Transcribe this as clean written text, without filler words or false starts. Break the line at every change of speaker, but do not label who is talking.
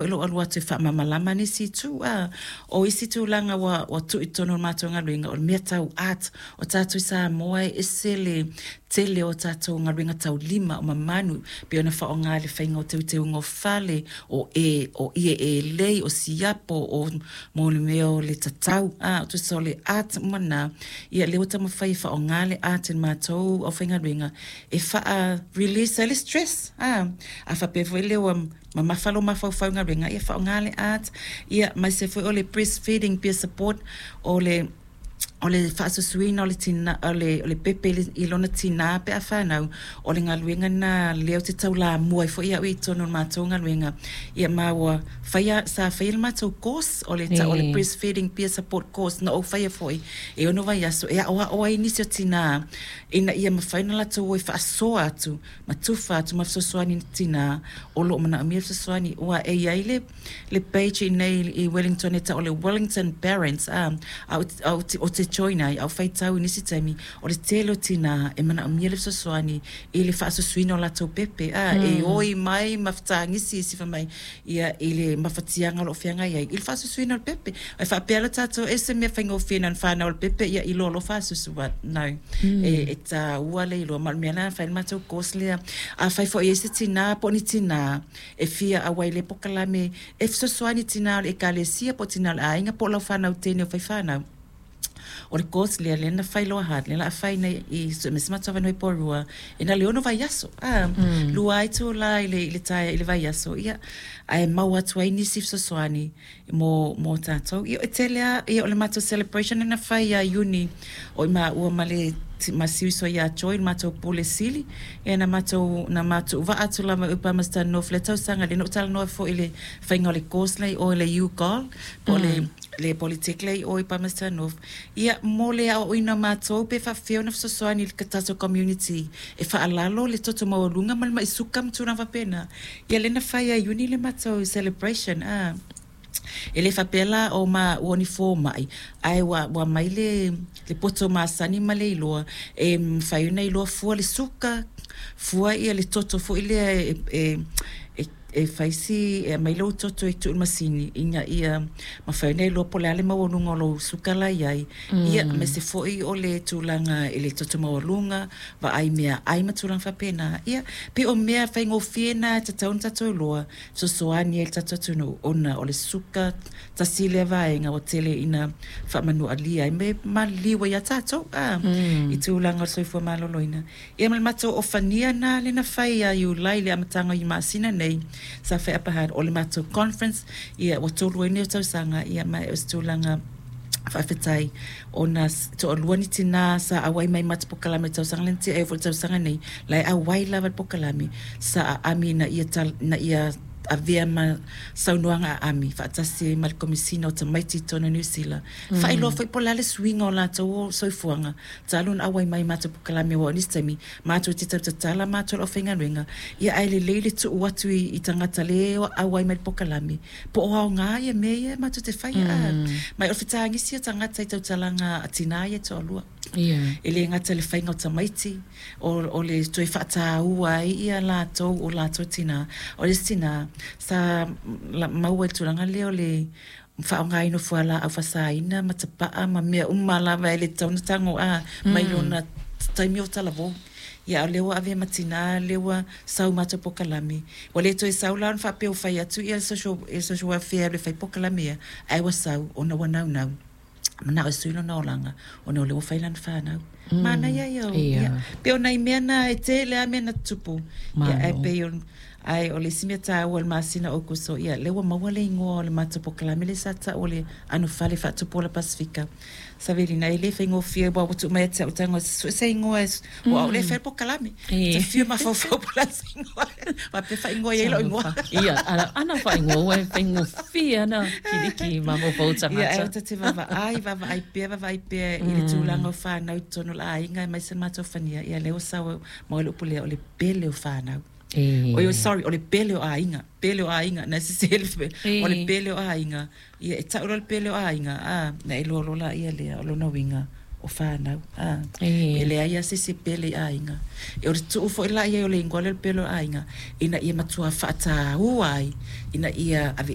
Foi lou alu atu e faamalamalama nisi itu, a. O isi tulaga ua tuu i totonu o le matou galuega, o le mea tau art. O tatou i Samoa e ese le tele o tatou galuega taulima, o mamanu, pei ona faaaoga i le faiga o teuteuga o fale, o ie elei, o siapo, o mo le mea o le tatau, a, tusa o le art uma lena. Ia lea ua taumafai e faaaoga le art e le matou aufaigaluega e faa-release ai le stress, a. A faapea foi lea ua mamafa lou mafaufau i galuega, ia faaaoga le art, ia aemaise foi o le breastfeeding peer support, o le faasusuina o le pepe i lona tinā pe a fanau. O le galuega lena lea ou te taulamua ai foi au i totonu o le matou galuega, ia ma ua faia, sa faia le matou course o le tau o le breastfeeding peer support course na ou faia foi e 6 vaiaso e aoao ai nisi o tinā ina ia mafai ona latou o e faasoa atu ma tufa atu ma fesoasoani i tinā o lo o manaomia le fesoasoani. Ua e i ai le page i nei i Wellington e tau o le Wellington Parents, a o te join ai au faitau i nisi taimi o le tele o tinā e manaomia le fesoasoani i le faasusuina o latou pepe, a e oi mai ma fetagisi isi fai mai ia i le mafatiaga o lo o feagai ai i le faasusuina o le pepe. E faapea le tatou e se mea faigofie na ona fanau o le pepe ia iloa loa faasusu, but no, e taua le iloa ma o le mea lena na fai le matou course lea. A fai foi i ai se tinā po o ni tinā e fia auai i le polokalame e fesoasoani i tinā o le ekalesia po o tinā o le aiga po o lau fanau teine o fai fanau, o le course lea lea na fai loa hard lea la a fai nei i se matou avanoa i Porirua e na le 6 vaiaso, a lua ai tula i le tae i le vaiaso, ia ae maua atu ai nisi fesoasoani mo tatou. Ia e tele a ia o le matou celebration na fai ia Iuni o i maua ma le ma siuso ia Joy le matou pule sili ia na matou vaa atu lava i Palmerston North le tausaga le na ou talanoa foi i le faiga o le course lea o le UGOL po o le Polytech lea i Palmerston North, ia mo le aoaoina o matou pe faapefea ona fesoasoani i le tatou community e faalalo le toto maualuga ma le mai suka ma tulaga faapena. Ia lea na fai ia Iuni le matou celebration, a e le faapea la o ma ua ni fomai ae ua mai le poto masani ma le iloa e mafai ona iloa fua le suka, fua ia le toto foi lea e fai si e aumai lou toto e tuu i le masini ina ia mafai ona iloa po o le a le maualuga o lou suka la i ai, ia aemaise foi o le tulaga i le toto maualuga, vaai mea ai ma tulaga faapena. Ia pei o mea faigofie na e tatau ona tatou iloa fesoasoani ai le tatou atunuu ona o le suka tasi lea vaega ua tele ina faamanualia ai me maliliu ai ia tatou, a i tulaga o le soifua maloloina. Ia ma le matou ofania na le na fai ia Iulai, le amataga i masina nei sa fai Upper Hutt o le matou conference, ia ua 3 ai nei o tausaga. Ia ma o se tulaga faafetai ona toalua ni tinā sa auai mai matou polokalame tausaga lea na tea foi le tausaga nei la e auai lava le polokalame sa aami na ia avea ma saunoaga aami faatasi ai ma le Komisina o Tamaiti i totonu o Niu Sila, faailoa foi po o le a le suiga o latou o soifuaga talu ona auai mai matou polokalame. Ua o nisi taimi matou te tautatala matou le aufaigaluega, ia ae lelei le tuu atu i tagata le auai mai le polokalame po o aoga ia mea ia matou te faia, a mai o le fetagisi o tagata i tautalaga a tinā ia toalua. E le gata i le faiga o tamaiti o le toe faataua ai ia latou o latou tinā. O le isi tinā sa maua i le tulaga lea o le faaaogaina o fualaau faasaina ma tapaa ma mea uma lava e le tatau ona tago a mai lona taimi o talavou. Ia a o lea ua avea ma tinā lea ua sau matou polokalame ua le toe sau la ona faapea ua fai atu ia le social welfare e fai polokalame ia ae ua sau ona ua naunau manao e sui lona olaga ona o lea ua fai lana fanau. Manaia ia o ia pei o nai mea na e tele a mea na tutupu ia ae pei o ae o le isi mea taua i le masina o Aokuso, ia lea ua maua le igoa o le matou polokalame lea sa tau o le anofale faatupu Pasefika. Savelina e le faigofie ua tuu mai ia te au tago sue se igoa ua au le fai le polokalame te fia mafaufau po o le a se igoa faapea faaigoa i ai lau igoa.
Ia, ana faaigoa ua e faigofie ana kiliki mafaufau tagata.
Ia, ae ta te vaavaai, vaavaai pea, vaavaai pea i le tulaga o fanau i totonu o le aiga aemaise le matou fania. Ia lea ua sau maua le upu lea o le pele o fanau. Oi, sorry, o le pele o aiga, pele o aiga, na sese le o le pele o aiga. Ia e tau loa le pele o aiga, a, na e iloa loa la ia lea o lona uiga o fanau. A, e leai lava se isi pele i aiga. E o le tuu foi la i ai o le igoa lea o le pele o aiga, ina ia matua faataua ai, ina ia ave